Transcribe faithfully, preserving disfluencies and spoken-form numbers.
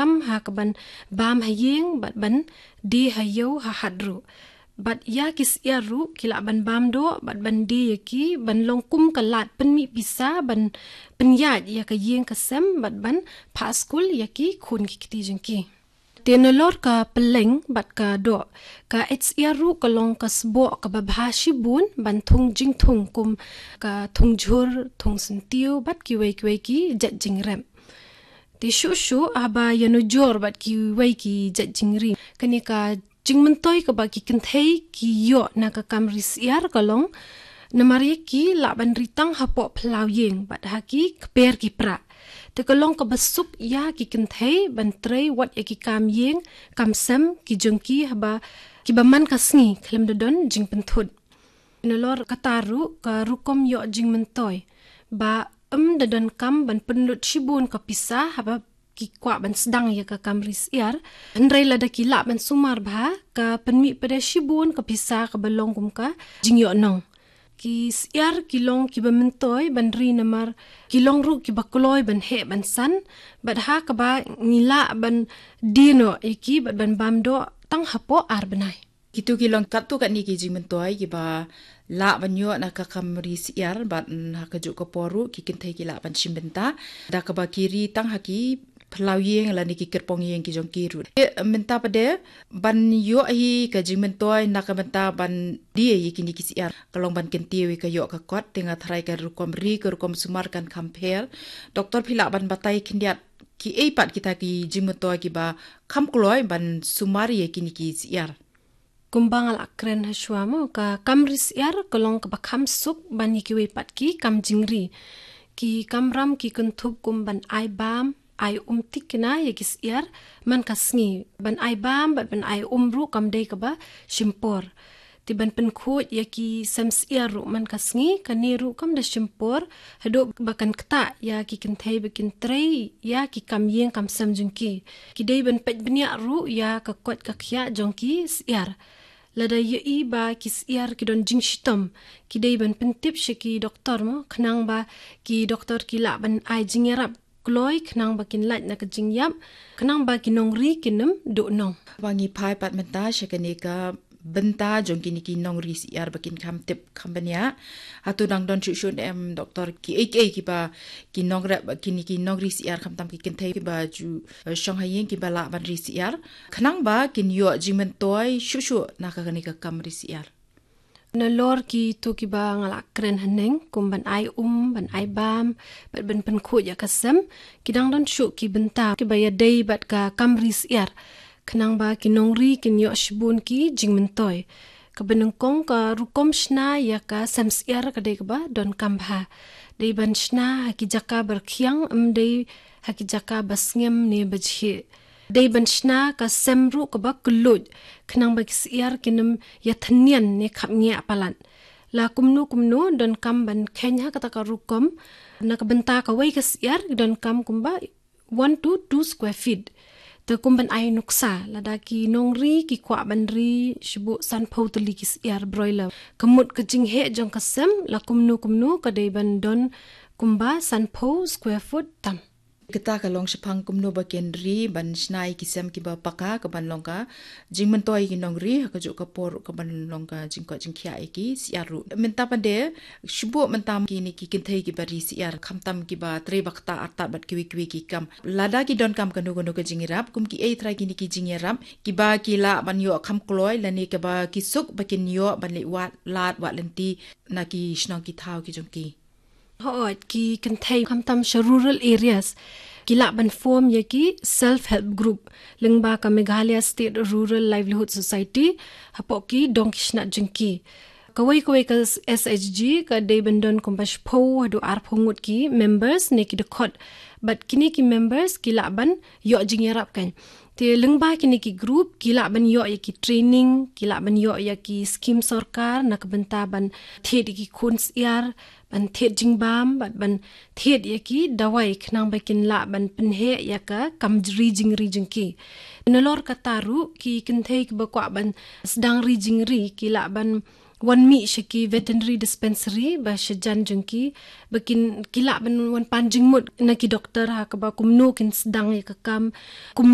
kam ha ka ban bam ha ïing bad ban die ha ïew ha hat ruh. Bad ïa ki syiar ruh ki lah ban bam doh bad ban die ïa ki ban long kum ka lad pynmih pisa ban pynïaid ïa ka ïing ka sem bad ban phah skul ïa ki khun ki kti jong ki. Te nalor ka pylleng bad ka doh, ka eit syiar ruh ka long ka sboh kaba bha shibun ban thung jingthung kum ka thung jhur, thung syntiew bad kiwei kiwei ki jait jingrep. Te shuh shuh haba ïanujor bad kiwei ki jait jingri, kane ka jingmyntoi kaba ki kynthei ki ïoh na ka kam ri syiar ka long namar ïa ki lah ban ri tang hapoh phyllaw ïing bad ha ki kper ki prah. Te ka long kaba suk ïa ki kynthei ban trei wat ïa ki kam ïing kam sem ki jong ki haba kiba man ka sngi khlem da don jingpynthut. Nalor kata ruh ka rukom ïoh jingmyntoi ba ym da donkam ban pynlut shibun ka pisa haba ki kwah ban sdang ïa ka kam ri syiar. Hynrei lada ki lah ban sumar bha, ka pynmih pat de shibun ka pisa kaba long kum ka jingïoh nong. Ki syiar ki long kiba myntoi ban ri namar ki long ruh kiba kloi ban heh ban san, bad ha kaba ngi lah ban die noh ïa ki bad ban bam doh tang hapoh ar bnai. Kitu ki long katto katne ki jingmyntoi kiba lah ban ïoh na ka kam ri syiar bad, mm, ha kajuh ka por ruh ki kynthei ki lah ban shim bynta da kaba ki ri tang ha ki phyllaw ïing lane ki kyrpong ïing ki jong ki ruh. Te mynta pat de ban ïoh hi ka jingmyntoi na ka bynta ban die ïa kine ki syiar ka long ban kyntiew ïa ka ïoh ka kot, te nga tharai ka rukom ri ka rukom sumar kan kham pher. Doktor, phi lah ban batai khyndiat kiei pat kita ki jingmyntoi kiba kham kloi ban sumar ïa kine ki syiar? Kumba nga la kren ha shuwa mo, ka kam ri syiar ka long kaba kham suk ban ïa kiwei pat ki kam jingri. Ki kamram ki kynthup kum ban ai bam, ai um thikna ïa ki syiar man ka sngi. Ban ai bam bad ban ai um ruh kam dei kaba shim por. Te ban pynkhuid ïa ki sem syiar ruh man ka sngi, kane ruh kam da shim por, haduh ba kan ktah ïa ki kynthei ba kin trei ïa ki kam ïing kam sem jong ki. Ki dei ban peit bniah ruh ïa ka koit ka khiah jong ki syiar. Lada ïohi ba ki syiar ki don jingshitom, ki dei ban pyntip sha ki doktor mo, khnang ba ki doktor ki lah ban ai jingïarap kloi khnang ba kin lait na ka jingïap, khnang ba ki nongri kin ym duh nong. Ba ngi phai pat mynta sha kane ka bynta jong kine ki nongri syiar ba kin kham tip kham bniah. Hato dang don shuh shuh ne em doktor, kiei kiei kiba ki nongrep, kine ki nongri syiar khamtam ki kynthei kiba ju, eh, shong ha ïing kiba lah ban ri syiar khnang ba kin ïoh jingmyntoi shuh shuh na ka kane ka kam ri syiar? Nalor kitu kiba nga la kren haneng, kum ban ai um, ban ai bam, bad ban pynkhuid ïa ka sem, ki dang don shuh ki bynta kiba ïadei bad ka kam ri syiar. Khnang ba ki nongri kin ïoh shibun ki jingmyntoi. Kaba nyngkong, ka rukom shna ïa ka sem syiar ka dei kaba donkam bha. Dei ban shna ha ki jaka ba rkhiang, ym dei ha ki jaka ba sngem ne ba jhieh. Dei ban shna ka sem ruh kaba kylluid, khnang ba ki syiar kin ym ïa thynnian ne khapngiah palat. La kumno kumno donkam ban kheiñ ha kata ka rukom, na ka bynta kawei ka syiar donkam kumba one to two square feet. Te kum ban ai nuksa, lada ki nongri ki kwah ban ri shibun sanphew tylli ki syiar broiler, ka mut ka jingheh jong ka sem la kumno kumno ka dei ban don kumba sanphew square foot tam. Kata ka long shaphang kumno ba kin ri ban shna ïa ki sem kiba paka, ka ban long ka jingmyntoi ïa ki nongri, ha kajuh ka por ka ban long ka jingkoit jingkhiah ïa ki syiar ruh. Mynta pat de, shibun mynta kine ki kynthei kiba ri syiar, khamtam kiba trei ba ktah artat bad kiwei kiwei ki kam, lada ki donkam kano kano ka jingïarap, kum kiei trai kine ki jingïarap kiba ki lah ban ïoh kham kloi lane kiba ki suk ba kin ïoh ban leit wad lad wad lynti na ki shnong ki thaw ki jong ki? Hooid, ki kynthei khamtam sha rural areas ki lah ban form ïa ki self help group lyngba ka Meghalaya State Rural Livelihood Society, hapoh ki dong ki shnat jong ki. Kawei kawei ka S H G ka dei ban don kumba shiphew haduh arphew ngut ki members ne ki dkhot. Bad kine ki members ki lah ban ïoh jingïarap kan. Te lyngba kine ki group ki lah ban ïoh ïa ki training, ki lah ban ïoh ïa ki skim sorkar na ka bynta ban thied ïa ki khun syiar, ban thied jingbam, bad ban thied ïa ki dawai khnang ba kin lah ban pynheh ïa ka kam ri jingri jong ki. Nalor kata ruh, ki kynthei kiba kwah ban sdang ri jingri ki lah ban wan mih sha ki veterinary dispensary ba sha jan jong ki, ba kin ki lah ban wan pan jingmut na ki doktor ha kaba kumno kin sdang ïa ka kam, kum